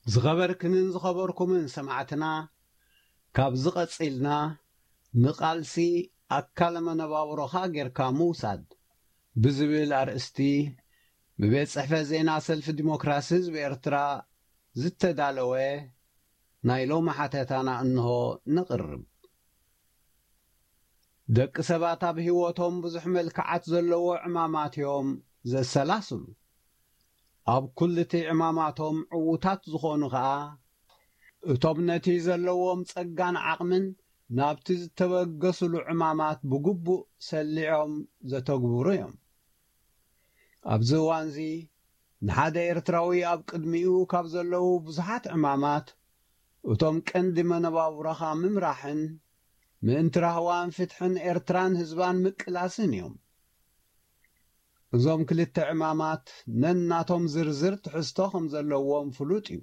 ዝኸበርክንን ዝኸበርኩምን ሰማዕትና፣ ካብዚ ቀጺልና ንቃልሲ ኣካለ መነባብሮኻ ጌርካ ምውሳድ ብዝብል ኣርእስቲ ብቤት ጽሕፈት ዜና ሰልፊ ዲሞክራሲ ህዝቢ ኤርትራ ዝተዳለወ ናይ ሎሚ ሓተታና እንሆ ነቕርብ። ደቂ ሰባት ኣብ ህይወቶም ብዙሕ መልክዓት ዘለዎ ዕማማት እዮም ዘሰላስሉ። ኣብ ኩልቲ ዕማማቶም ዕዉታት ዝኾኑ ኸኣ፣ እቶም ነቲ ዘለዎም ጸጋን ዓቕምን ናብቲ ዝተበገሱሉ ዕማማት ብግቡእ ሰሊዖም ዘተግብሩ እዮም። ኣብዚ እዋንዚ ንሓደ ኤርትራዊ ኣብ ቅድሚኡ ካብ ዘለዉ ብዙሓት ዕማማት፣ እቶም ቀንዲ መነባብሮኻ ምምራሕን ምእንቲ ራህዋን ፍትሕን ኤርትራን ህዝባን ምቅላስን እዮም። እዞም ክልተ ዕማማት ነናቶም ዝርዝር ትሕዝቶ ከም ዘለዎም ፍሉጥ እዩ።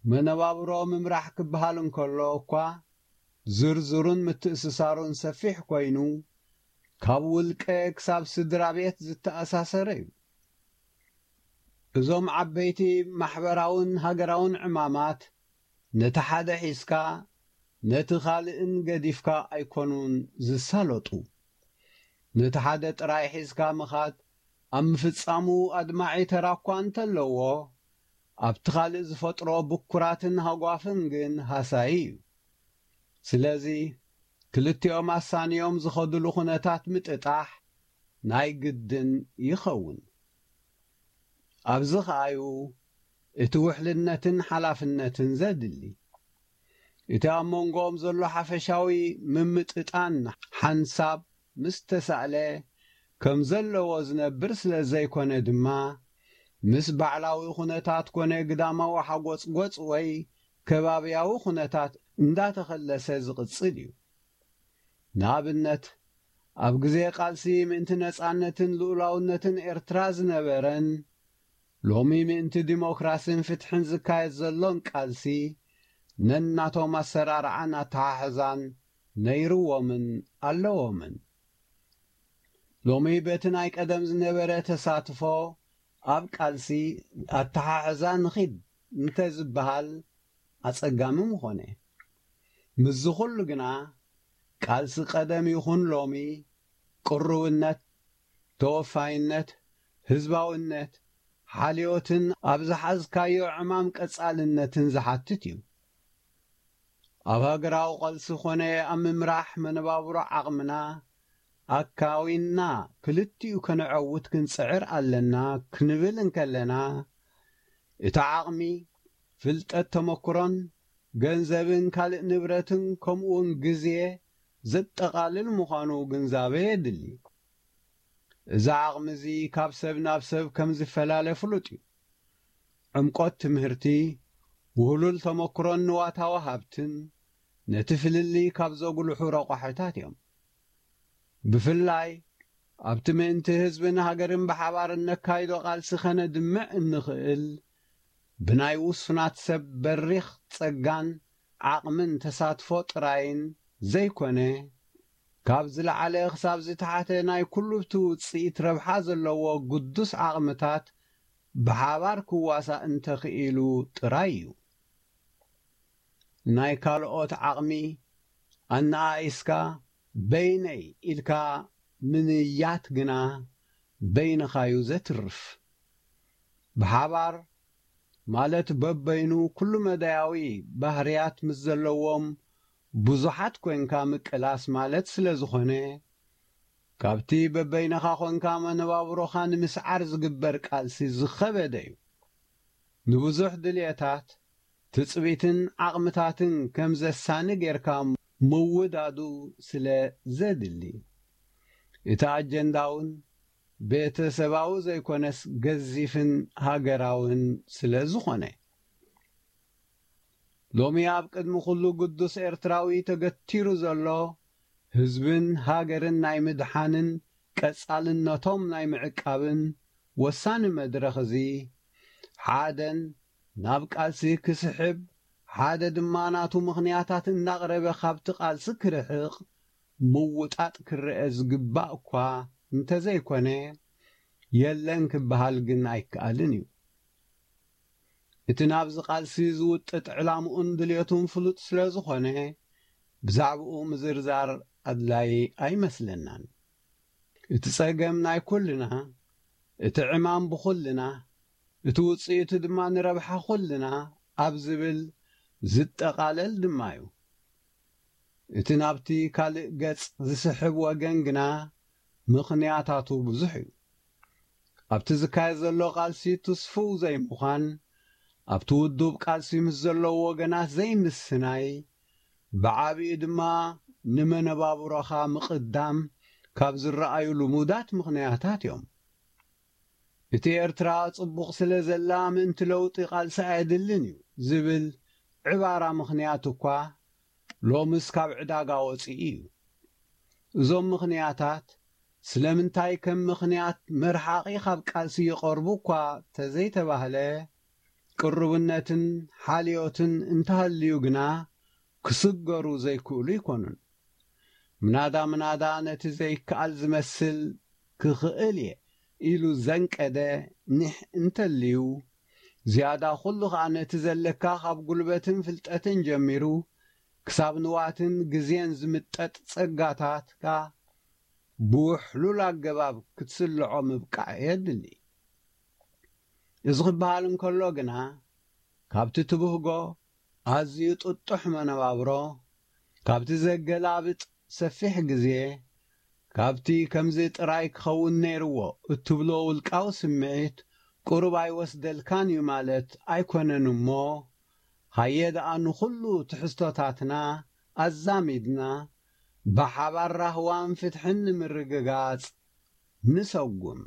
መነባብሮ ምምራሕ ክበሃል እንከሎ እኳ ዝርዝሩን ምትእስሳሩን ሰፊሕ ኮይኑ፣ ካብ ውልቀ ክሳብ ስድራ ቤት ዝተኣሳሰረ እዩ። እዞም ዓበይቲ ማሕበራውን ሃገራውን ዕማማት ነቲ ሓደ ሒዝካ ነቲ ካልእን ገዲፍካ ኣይኮኑን ዝሳለጡ። ነቲ ሓደ ጥራይ ሒዝካ ምኻድ ኣብ ምፍጻሙ ኣድማዒ ተራ እኳ እንተለዎ፣ ኣብቲ ካልእ ዝፈጥሮ ብኩራትን ሃጓፍን ግን ሃሳዪ እዩ። ስለዚ ክልቲኦም ኣሳንዮም ዝኸድሉ ኩነታት ምጥጣሕ ናይ ግድን ይኸውን። ኣብዚ ኸኣዩ እቲ ውሕልነትን ሓላፍነትን ዘድሊ። እቲ ኣብ መንጎኦም ዘሎ ሓፈሻዊ ምምጥጣን ሓንሳብ ምስ ተሳእለ ከም ዘለዎ ዝነብር ስለ ዘይኮነ ድማ፣ ምስ ባዕላዊ ኩነታት ኮነ ግዳማዊ ሓጎጽጎጽ ወይ ከባብያዊ ኩነታት እንዳተኸለሰ ዝቕጽል እዩ። ንኣብነት፣ ኣብ ግዜ ቃልሲ ምእንቲ ነጻነትን ልኡላውነትን ኤርትራ ዝነበረን፣ ሎሚ ምእንቲ ዲሞክራስን ፍትሕን ዝካየድ ዘሎን ቃልሲ፣ ነናቶም ኣሰራርዓን ኣተሓሕዛን ነይርዎምን ኣለዎምን። ሎሚ በቲ ናይ ቀደም ዝነበረ ተሳትፎ ኣብ ቃልሲ ኣተሓሕዛ ንኺድ እንተ ዝበሃል ኣጸጋሚ ምኾነ። ምስዚ ኩሉ ግና፣ ቃልሲ ቀደም ይኹን ሎሚ፣ ቅሩብነት፣ ተወፋይነት፣ ህዝባውነት፣ ሓልዮትን ኣብ ዝሓዝካዮ ዕማም ቀጻልነትን ዝሓትት እዩ። ኣብ ሃገራዊ ቃልሲ ኾነ ኣብ ምምራሕ መነባብሮ ዓቕምና ኣካዊንና ክልቲኡ ከነዐውት ክንጽዕር ኣለና ክንብል እንከለና፣ እቲ ዓቕሚ፣ ፍልጠት፣ ተመክሮን ገንዘብን ካልእ ንብረትን ከምኡውን ግዜ ዘጠቓልል ምዃኑ ግንዛበ የድሊ። እዚ ዓቕሚ እዚ ካብ ሰብ ናብ ሰብ ከም ዝፈላለ ፍሉጥ እዩ። ዕምቆት ትምህርቲ፣ ውህሉል ተመክሮን ንዋታዊ ሃብትን ነቲ ፍልልይ ካብ ዘጉልሑ ረቋሒታት እዮም። ብፍላይ ኣብቲ ምእንቲ ህዝብን ሃገርን ብሓባር እነካይዶ ቃልሲ ከነድምዕ እንኽእል ብናይ ውሱናት ሰብ በሪኽ ጸጋን ዓቕምን ተሳትፎ ጥራይን ዘይኮነ፣ ካብ ዝለዓለ ክሳብ ዝተሓተ ናይ ኩሉ እቲ ውጽኢት ረብሓ ዘለዎ ግዱስ ዓቕምታት ብሓባር ክዋሳእ እንተኽኢሉ ጥራይ እዩ። ናይ ካልኦት ዓቕሚ ኣነኣኢስካ በይነይ ኢልካ ምንያት ግና በይንኻዩ ዘትርፍ። ብሓባር ማለት በበይኑ ኩሉ መዳያዊ ባህርያት ምስ ዘለዎም ብዙሓት ኮንካ ምቅላስ ማለት ስለ ዝኾነ፣ ካብቲ በበይንኻ ኮንካ መነባብሮኻ ንምስዓር ዝግበር ቃልሲ ዝኸበደ እዩ። ንብዙሕ ድልየታት፣ ትጽቢትን ዓቕምታትን ከም ዘሳኒ ጌርካ ምውዳዱ ስለ ዘድሊ፣ እቲ ኣጀንዳውን ቤተሰባዊ ዘይኮነስ ገዚፍን ሃገራውን ስለ ዝኾነ፣ ሎሚ ኣብ ቅድሚ ኩሉ ግዱስ ኤርትራዊ ተገቲሩ ዘሎ ህዝብን ሃገርን ናይ ምድሓንን ቀጻልነቶም ናይ ምዕቃብን ወሳኒ መድረኽ እዚ፣ ሓደን ናብ ቃልሲ ክስሕብ፣ ሓደ ድማ ናቱ ምኽንያታት እናቕረበ ካብቲ ቃልሲ ክርሕቕ ምውጣጥ ክረአ ዝግባእ እኳ እንተዘይኮነ፣ የለን ክበሃል ግን ኣይከኣልን እዩ። እቲ ናብዚ ቃልሲ ዝውጥጥ ዕላምኡን ድልየቱን ፍሉጥ ስለ ዝኾነ፣ ብዛዕባኡ ምዝርዛር ኣድላይ ኣይመስለናን። እቲ ጸገም ናይ ኩልና፣ እቲ ዕማም ብኹልና፣ እቲ ውጽኢቱ ድማ ንረብሓ ኩልና ኣብ ዝብል ዝጠቓለል ድማ እዩ። እቲ ናብቲ ካልእ ገጽ ዝስሕብ ወገን ግና ምኽንያታቱ ብዙሕ እዩ። ኣብቲ ዝካየድ ዘሎ ቃልሲ ትስፉው ዘይምዃን፣ ኣብቲ ውዱብ ቃልሲ ምስ ዘለዉ ወገናት ዘይምስናይ፣ ብዓቢኡ ድማ ንመነባብሮኻ ምቕዳም ካብ ዝረኣዩ ልሙዳት ምኽንያታት እዮም። እቲ ኤርትራ ጽቡቕ ስለ ዘላ ምእንቲ ለውጢ ቃልሲ ኣየድልን እዩ ዝብል ዕባራ ምኽንያት እኳ ሎምስ ካብ ዕዳጋ ወጺኡ እዩ። እዞም ምኽንያታት ስለምንታይ ከም ምኽንያት መርሓቒ ካብ ቃልሲ ይቐርቡ እኳ ተዘይተባህለ፣ ቅሩብነትን ሓልዮትን እንተሃልዩ ግና ክስገሩ ዘይክእሉ ኣይኮኑን። ምናዳ ምናዳ ነቲ ዘይከኣል ዝመስል ክኽእል እየ ኢሉ ዘንቀደ ኒሕ እንተልዩ፣ ዝያዳ ኩሉ ኸኣ ነቲ ዘለካ ካብ ጉልበትን ፍልጠትን ጀሚሩ ክሳብ ንዋትን ግዜን ዝምጠጥ ጸጋታትካ ብውሕሉል ኣገባብ ክትስልዖ ምብቃዕ የድሊ። እዚ ክበሃል እንከሎ ግና፣ ካብቲ ትብህጎ ኣዝዩ ጥጡሕ መነባብሮ፣ ካብቲ ዘገላብጥ ሰፊሕ ግዜ፣ ካብቲ ከምዚ ጥራይ ክኸውን ነይርዎ እትብሎ ውልቃዊ ስምዒት ቁሩብ ኣይወስደልካን እዩ ማለት ኣይኮነን እሞ፣ ሃየ ደኣ ንኹሉ ትሕዝቶታትና ኣዛሚድና ብሓባር ራህዋን ፍትሕን ንምርግጋጽ ንሰጉም።